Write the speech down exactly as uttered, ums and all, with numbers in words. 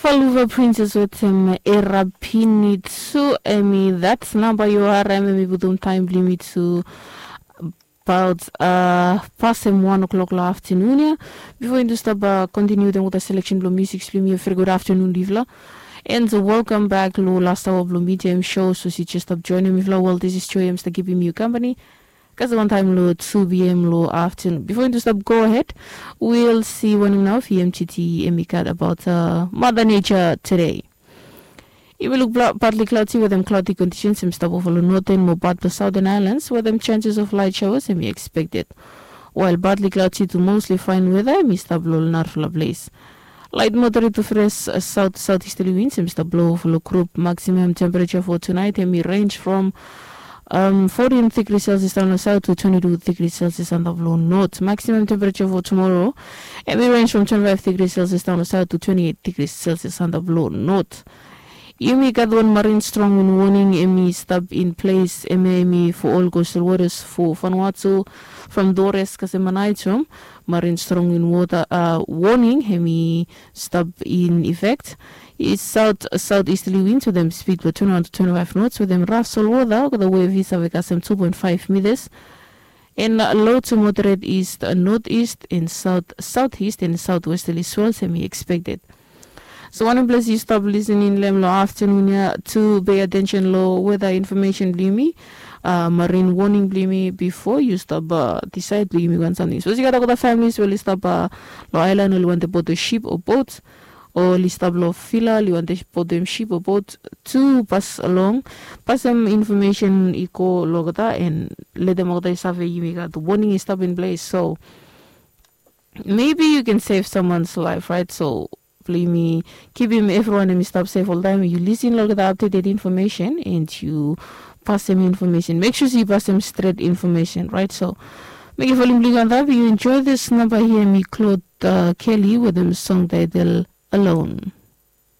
Faluva Princess wetem Erapini tu, emi that namba yu harem, emi putum taem blong yumi tu about uh, pasem wan o'clock lo aftenun ya. Bifo yumi tu stap uh, continue wetem olgeta selection blong music blong yumi, a very good afternoon, yufala. And welcome back lo last hour blong medium show. So si just stap joinim yufala, well, this is Joy, em stap givim yu company. Kasem wan taem lo two p.m. lo aftenun. Bifo yumi tu stap go ahead, we'll see wanem nao V M T T emi gat about uh, Mother Nature today. Yumi luk partly cloudy wetem cloudy conditions em stap ova lo northern mo part blo southern islands wetem chances of light showers emi expected. While partly cloudy to mostly fine weather emi stap lo narafala ples. Light moderate to fresh uh, south southeasterly winds emi stap blo ova lo group. Maximum temperature for tonight emi range from um, fourteen degrees Celsius down the south to twenty-two degrees Celsius on the blue north. Maximum temperature for tomorrow, emi range from twenty-five degrees Celsius down the south to twenty-eight degrees Celsius on the blue north. Yumi gat wan marine strong wind warning emi stap in place, emi emi for all coastal waters for Vanuatu from Dores kasem Aneityum. Marine strong wind water uh, warning emi stap in effect. Is south southeasterly winds wetem speed blo twenty-one to twenty-five knots wetem rough salt water olgeta wave i save kasem two point five meters. And low to moderate east uh, northeast and south southeast and southwesterly swells emi expected. So wanem ples yu stap listening lo hem lo aftenun ya, tu pay attention lo weather information blo yumi, uh, marine warning blo yumi bifo yu stap uh, decide blo yumi wan samting. So si gat olgeta families we oli stap uh, lo island, oli wantem boto ship o boat, o oli stap lo villa, oli wantem boto hem ship o boat, tu pas along, pasem information i go lo olgeta and letem olgeta i save yumi gat warning i stap in place. So maybe you can save someone's life, right? So blo yumi kipim evriwan emi stap safe oltaem, yu lisin lo olgeta updated information and yu pasem information. Make sure yu pasem stret information, right? So mekem volume blo yu antap, yu enjoy this namba hia, emi Claude uh, Kelly wetem song title Alone.